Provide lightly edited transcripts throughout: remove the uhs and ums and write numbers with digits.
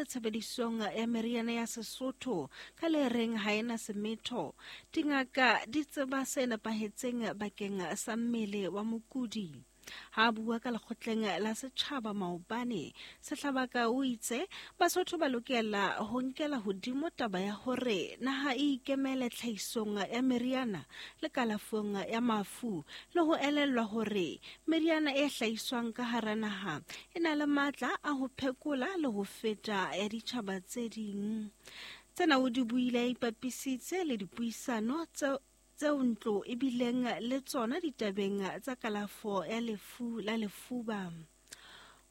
tshebedisong ya meriana ya Sesotho ka le reng ha e na semetho. Dingaka di tseba se nepahetseng bakeng sa mmele wa mokudi. Ha a bua ka lekgotleng la setjhaba maobane, Sehlabaka o itse Basotho ba lokela ho nkela hodimo taba ya hore naha e ikemele tlhahisong ya meriana le kalafong ya mafu le ho elellwa hore meriana e hlahiswang ka hara naha e na le matla a ho phekola le ho feta ya ditjhaba tse ding. Tsena o di buile a ipapisitse le dipuisano tseo ntlo e bileng le tsona ditabeng tsa kalafo ya lefu la lefuba.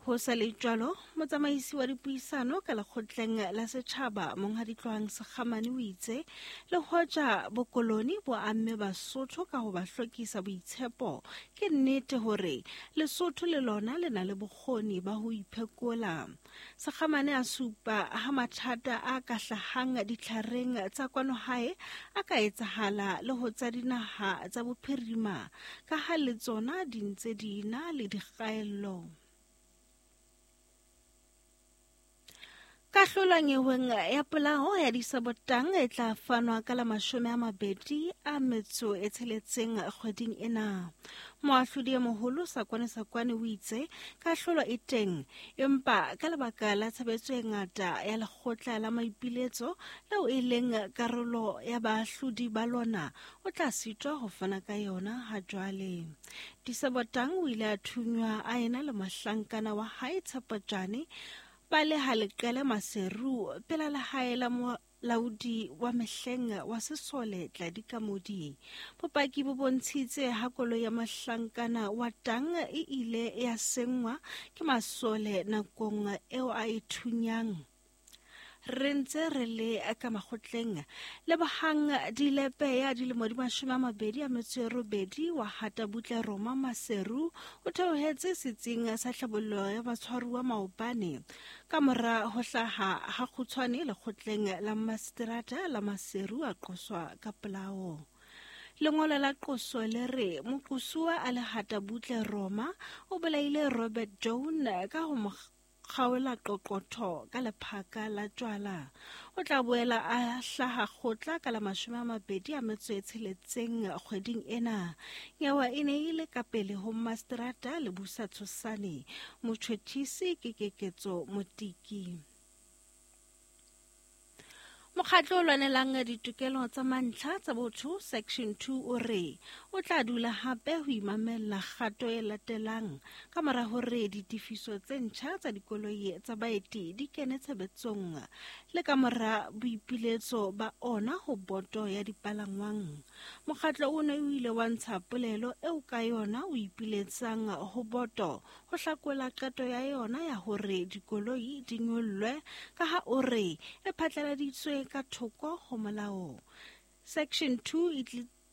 Ho sa le jwalo, motsamaisi wa dipuisano ka lekgotleng la setjhaba Monghadi Tlohang Sekgamane o itse le hoja bokoloni bo amme Basotho ka ho ba hlokisa boitshepo, ke nnete hore Lesotho le lona le na le bokgoni ba ho iphekola. Sekgamane a supa ha mathata a ka hlahang ditlhareng tsa kwano hae a ka etsahala le ho tsa dinaha tsa bophirima ka ha le tsona di ntse di na le dikgaello. Kahlolo nyeweng ya polao ya Disabotang e tla fanwa ka la 26 kgweding ena. Moahlodi e moholo Sakwane Sakwane o itse kahlolo e teng, empa ka lebaka la tshebetso e ngata ya lekgotla la maipiletso leo e leng karolo ya baahlodi ba lona, o tla sitwa ho fana ka yona ha jwale. Disabotang o ile a thunywa a ena le mohlankana wa hae Tshepojane ba le ha leqele Maseru pela lehae la molaodi wa mehleng wa sesole Tladi Kamodi. Bopaki bo bontshitse ha koloi ya mohlankana wa Tang e ile ya senngwa ke masole nakong eo a e thunyang. Re ntse re le ka makgotleng. Lebohang Dilepe ya dilemo di 28 wa hata butle Roma Maseru o theohetse setsing sa tlhabollo ya batshwaruwa maobane ka mora ho hlaha ha kgutshwane lekgotleng la maseterata la Maseru a qoswa ka polao. Lengolo la qoso le re moqosuwa a le hata butle Roma o bolaile Robert Joan ka ho mo kgaola qoqotho ka lephaka la tjwala. O tla boela a hlaha kgotla ka la 26 kgweding ena. Nyewa e ne e le ka pele ho maseterata Lebusa Tshosane. Motjhotjhisi ke Keketso Motiki. Mokgatlo o lwanelang ditokelo tsa mantlha tsa botho Section 2 o re o tla dula hape ho imamella kgato e latelang ka mora hore ditefiso tse ntjha tsa dikoloi tsa baeti di kene tshebetsong le ka mora boipiletso ba ona ho boto ya dipalangwang. Mokgatlo o ne o ile wa ntsha polelo eo ka yona o ipiletsang ho boto ho hlakola qeto ya yona ya hore dikoloi di nyollwe ka ha o re e phatlaladitswe ka thoko ho molao. Section 2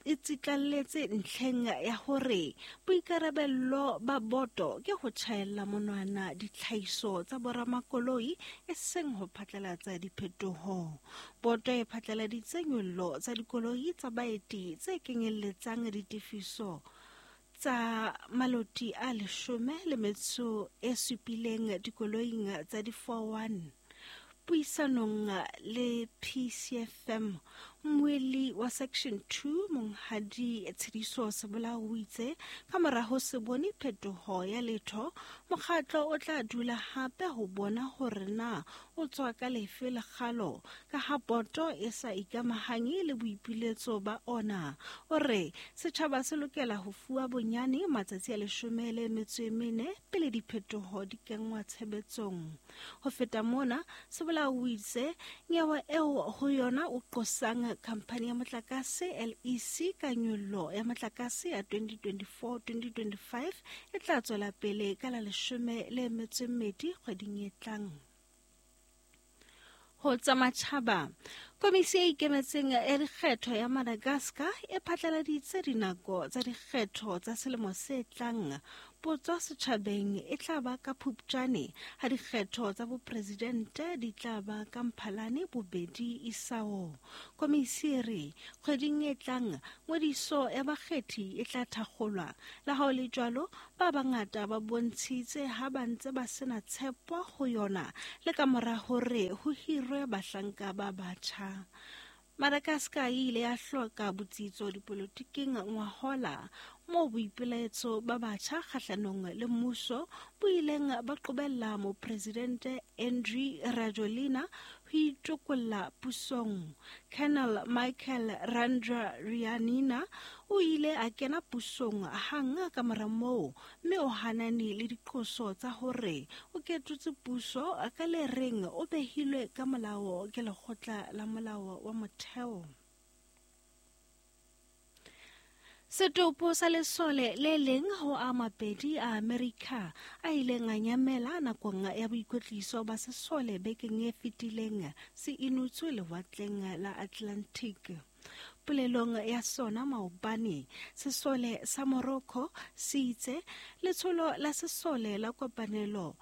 e tsitlalletse ntlheng ya hore boikarabello ba boto ke ho tjhaella monwana ditlhahiso tsa boramakoloi e seng ho phatlalatsa diphetoho. Boto e phatlaladitse nyollo tsa dikoloi tsa baeti tse kenyelletsang ditefiso tsa maloti a 17 dikoloing tsa di-41. Puisanong le PCFM, mmuelli wa Section 2 Monghadi Tshediso Sebolao o itse ka mora ho se bone phetoho ya letho, mokgatlo o tla dula hape ho bona hore na o tswa ka lefe lekgalo ka ha boto e sa ikamahanye le boipiletso ba ona. O re setjhaba se lokela ho fuwa bonyane matsatsi a 14 pele diphetoho di kenngwa tshebetsong. Ho feta mona, Sebolao o itse nyewe eo ho yona o qosang khamphani ya motlakase LEC ka nyollo ya motlakase ya 2024-2025 e tla tswela pele ka la 12 kgweding e tlang. Ho tsa matjhaba, komisi e ikemetseng ya dikgetho ya Madagascar e phatlaladitse dinako tsa dikgetho tsa selemo se tlang. Potso setjhabeng e tla ba ka Phupjane ha dikgetho tsa bopresidente di tla ba ka Mphalane 2 isao. Komisi e re kgweding e tlang ngodiso ya bakgethi e tla thakgolwa. Le ha ho le jwalo, ba bangata ba bontshitse ha ba ntse ba sena tshepo ho yona le ka mora hore ho hirwe bahlanka ba batjha. Madagascar e ile ya hloka botsitso dipolotiking ngwahola moo boipelaetso ba batjha kgahlanong le mmuso bo ileng ba qobella mopresidente Andry Rajoelina ho itokolla pusong. Colonel Michael Randrianirina o ile a kena pusong hang ka mora moo mme o hanane le diqoso tsa hore o ketotse puso ka le reng o behilwe ka molao ke lekgotla la molao wa motheo. Setopo sa lesole le leng ho a mabedi a Amerika a ileng a nyamela nakong ya boikwetliso ba sesole bekeng e fetileng se inotswe lewatleng la Atlantic. Polelong ya sona maobane, sesole sa Morocco se itse letsholo la sesole la kopanelo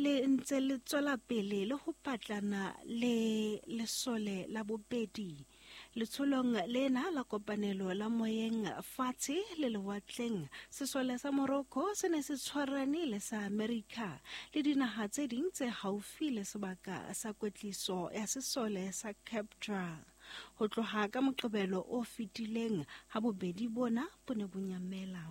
le ntse le tswela pele le ho patlana le lesole la bobedi. Letsholong lena la kopanelo la moyeng fatshe le lewatleng, sesole sa Morocco se ne se tshwarane le sa Amerika le dinaha tse ding tse haufi le sebaka sa kwetliso ya sesole sa Cape Dra. Ho tloha ka Moqebelo o fetileng ha bobedi bona bo ne bo nyamela.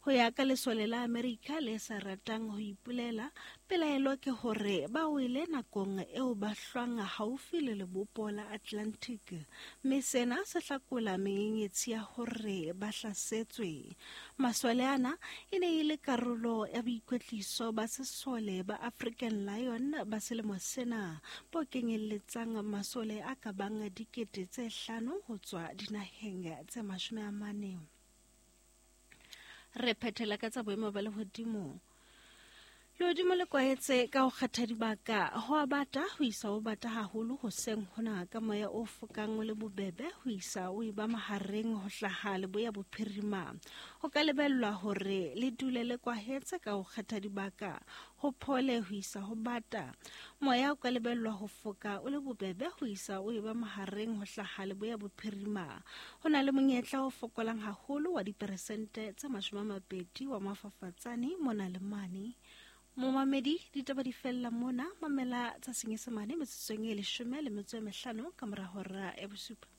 Ho ya ka lesole la Amerika le sa ratang ho ipolela, pelaelo ke hore ba wele nakong eo ba hlwang haufi le lebopo la Atlantic, mme sena se hlakola menyenyetsi ya hore ba hlasetswe. Masole ana e ne e le karolo ya boikwetliso ba sesole ba African Lion ba selemo sena, bo kenyelletsang masole a ka bang 5,000 ho tswa dinaheng tse 40. Re phethela ka tsa boemo ba lehodimo. Lehodimo le kwahetse ka ho kgetha dibaka, ho a bata ho isa ho bata haholo hoseng hona ka moya o fokang o le bobebe ho isa o eba mahareng ho hlaha leboya bophirima. Ho ka lebellwa hore le dule le kwahetse ka ho kgetha dibaka, ho phole ho isa ho bata. Moya o ka lebellwa ho foka o le bobebe ho isa o eba mahareng ho hlaha leboya bophirima. Ho na le monyetla o fokolang haholo wa diperesente tse 20 wa mafafatsane mona le mane. Momamedi, ditaba di fella mona, mamela tsa Senyesemane metsotsong e 15 ka mora hora ya 7.